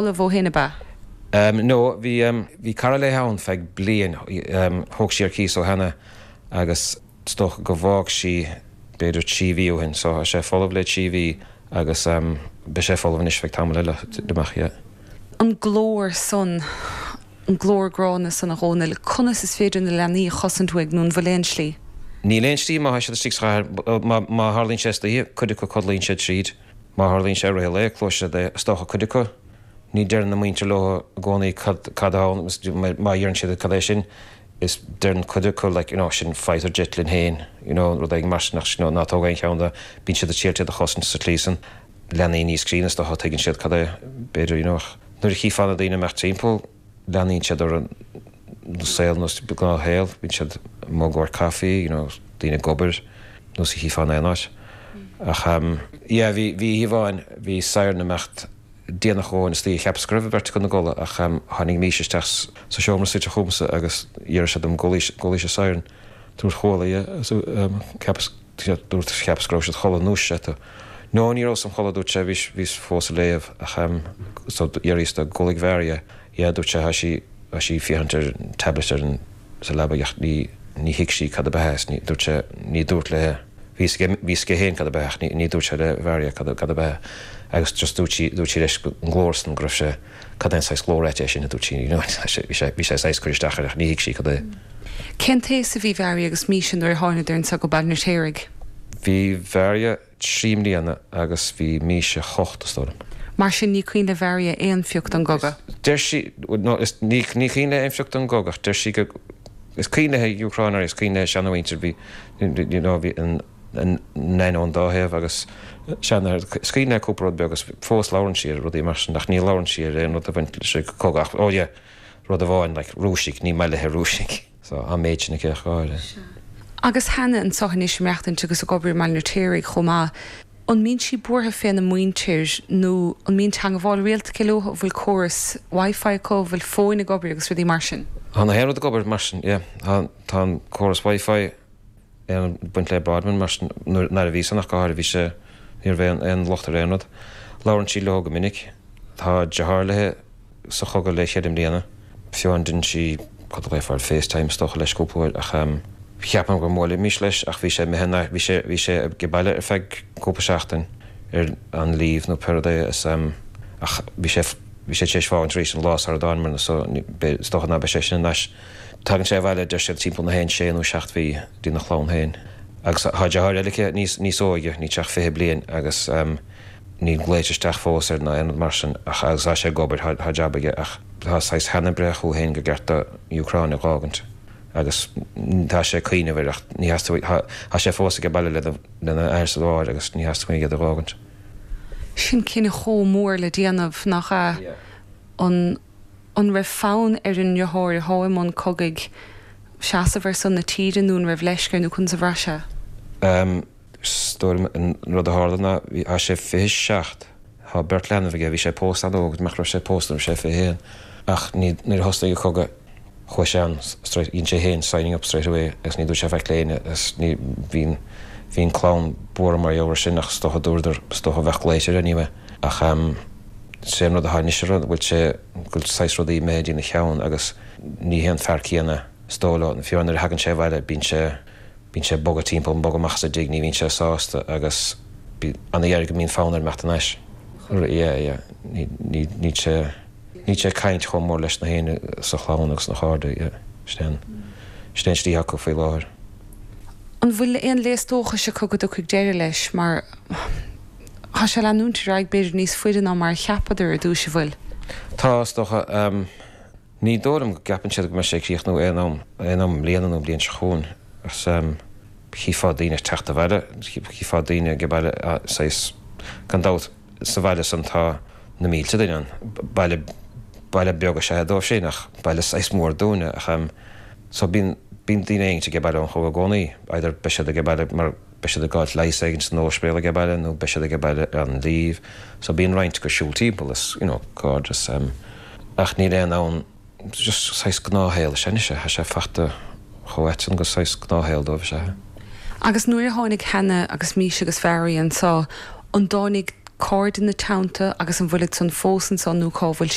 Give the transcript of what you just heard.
Folamh ó shin, ab ea? Em, no, bhí, em, bhí cara léi ann feadh bliain, em, thóg sí ar cíos ó Hannah agus is dócha go bhfág sí b'fhéidir 3 mhí ó shin, so tá sé folamh le 3 mhí agus, em, beidh sé folamh anois feadh tamall eile amach, yeah. An glór san, an glór gránna san, a Dhónaill, conas is féidir na leanaí a chosaint uaidh nó an bhfuil aon slí? Níl aon slí má tá siad istigh sa chathair, má, má tharlaíonn sé istoíche, cuid acu codlaíonn siad tríd. Má tharlaíonn sé i rith an lae, cloisfidh siad é. Is dócha cuid acu, ní deireann a muintir leo i gcónaí cad cad atá ann, má iarrann siad cad é sin, is deireann cuid acu like, you know, sin fighter jet linn féin, you know, rud éigin mar sin ach you know, ná tóg aon cheann de, bíonn siad ag triail iad a chosaint sa tslí san. Leanaí níos críonna is dócha, tuigeann siad cad é, b'fhéidir, you know, ach nuair a chífeá na daoine ag imeacht timpeall, leanaíonn siad ar an saol nós gnáthshaol, bíonn siad amuigh i gcomhair caife, you know, daoine ag obair, nós a chífeá in aon áit. Ach yeah, bhí, bhí oíche amháin, bhí siren ag imeacht déanach amháin istoíche, cheapas go raibh an bheirt acu ina gcodladh ach tháinig Míse isteach sa seomra suite chugamsa agus d'iarr sé dom go gcualaís an siren. Dúirt chuala, yeah, so cheapas, dúirt, cheapas go raibh siad chodladh, ndúisigh sé tú. No, ní rabhas im chodladh, dúirt sé, bhíos, bhíos fós ag léamh ach so d'fhiafraíos de, gcualaidh Mharia, yeah, dúirt sé, tá sí, tá sí ag féachaint ar an tablet ar an, sa leaba ach ní, ní thuig sí cad ab ea is ní, dúirt sé, ní dúirt léi, bhí fhios aige, bhí fhios aige féin cad ab ea ach ní, ní dúirt sé le Mharia cad, cad ab ea agus just dúirt sí, dúirt sí leis an nglór san go raibh sé, cad é an saghas glór ait é sin a dúirt sí, you know, bhí sé, bhí sé saghas cur isteach air ach ní thuig sí cad é. Cén t-aos a bhí Mharia agus Míse nuair a thánadar anso go Baile an Fheirtéaraigh? Bhí Mharia 3 mbliana agus bhí Míse 8, is dóigh liom. Mar sin ní cuimhin le Mharia aon phioc den gcogadh. Deir sí, no, is, ní, ní cuimhin léi aon phioc den gcogadh ach deir sí go, is cuimhin léi Úcráin is cuimhin léi seanamhuintir, bhí, you know, bhí an, an nain ón dá thaobh agus seanathair, is cuimhin léi cúpla rud beag agus fós labhrann sí ar rudaí mar sin ach ní labhrann sí ar aon rud a bhain leis an gcogadh ach, oh yeah, rud amháin, like, Rúisigh, ní maith léi Rúisigh. So, an méid sin aici ach go háirithe. Sea. Agus Hannah anso anois ag maireachtaint agus ag obair i mBaile an Fheirtéaraigh chomh maith, an mbíonn sí buartha féna muintir nó an mbíonn teangabháil rialta aici leo, an bhfuil córas Wi-Fi acu, an bhfuil fóin ag obair agus rudaí mar sin? Tá na haon rud ag obair mar sin, yeah. Tá, tá an córas Wi-Fi ag baint le broadband mar sin, nuair, nuair a bhí san ach go háirithe bhí sé, ní raibh aon, aon locht ar aon rud. Labhrann sí leo go minic. Tá deartháir léi sa chogadh le cheithre mbliana. Fiú amháin dhein sí, cad a ghlaofá air, FaceTime is dócha leis cúpla uair ach cheapfainn go mbuailfimis leis ach bhí sé imithe in bhí sé, bhí sé ag baile ar feadh cúpla seachtain ar an leave nó pé rud é is ach bhí sé, bhí sé tar éis fágaint arís an lá sara dtánamair so is dócha ná beidh sé sin anois. Tagann sé abhaile deir siad timpeall na haon sé nó seacht mhí dtína chlann féin. Agus tá deartháir eile aici níos, níos óige, níl sé ach 20 bliain agus. Níl glaoite isteach fós air ná aon rud mar sin ach agus tá sé ag obair, tá jab aige ach tá saghas Hannah breithe chucu féin gur ceart do Úcráin a dh'fhágaint agus tá sé ag cuimhneamh air ach ní theastaigh, tá sé fós age baile lena athair is a mháthair agus ní theastaigh uaidh iad a dh'fhágaint. Sin cinneadh chomh mór le déanamh, nach ea? An an raibh fonn ar an ndeartháir atá i mbun cogaidh seasamh ar son na tíre nó an raibh leisce air nó conas a bhraith sé? Is dóigh liom an rud a tharla ná bhí, tá sé 27, tá beirt leanbh aige, bhí sé pósta an-óg, nach raibh sé pósta nuair a bhí sé 21, ach ní, nuair a thosnaigh an cogadh chuaigh sé ann straight, dhein sé féin signing up straight away agus ní dúirt sé faic le éinne agus ní, bhí an, bhí an clann buartha mar gheall air sin ach is dócha dúradar, is dócha bheadh glaoite air anyway ach ehm sé an rud atá anois ar an, bhfuil sé, go bhfuil saghas rudaí imithe dtína cheann agus ní hé an fear céanna is dóigh leo, fiú nuair a thagann sé abhaile bíonn sé, Bíonn sé ag bogadh timpeall, ag bogadh amach as an dtigh, ní bhíonn sé sásta agus an-ghearr go mbíonn fonn air imeacht anois. Yeah, yeah. Ní, ní, níl sé, níl sé ag caint chomh mór leis na héinne sa chlann agus na chairde, yeah. Sin é an, sin é an slí acu faoi láthair. An bhfuil aon léas dóchais acu go dtiocfaidh deireadh leis mar tá sé ag leanúint ar aghaidh b'fhéidir níos faide ná mar a cheapadar ar dtúis, an bhfuil? Tá, is dócha. Ní dóigh liom go gceapann siad go mbeidh sé ag críochnú aon am, aon am i mbliana nó an bhliain seo chugainn. Agus chífeá daoine ag teacht abhaile, chífeá daoine ag baile, saghas, gan dabht, sa bhaile san tá na mílte duine ann. Baile, baile beag is ea é dóibh sin ach baile saghas mór dúinne ach so bíonn, bíonn daoine éigint ag baile ón chogadh i gcónaí, either beidh siad ag baile mar, beidh siad ag fáilt leigheas éigint san ospidéal age baile nó beidh siad age baile ar an leave so bíonn roinnt acu ag siúl timpeall is you know cairdeas em ach níl aon ann just saghas gnáthshaol is ea anois é tá sé fachta chomh ait san gur saghas gnáthshaol dóibh is ea é. Agus nuair a tháinig Hannah agus Míse agus Mharia anso an dtáinig. Cairde ina teannta agus an bhfuilid san fós ansan nó cá bhfuil siad?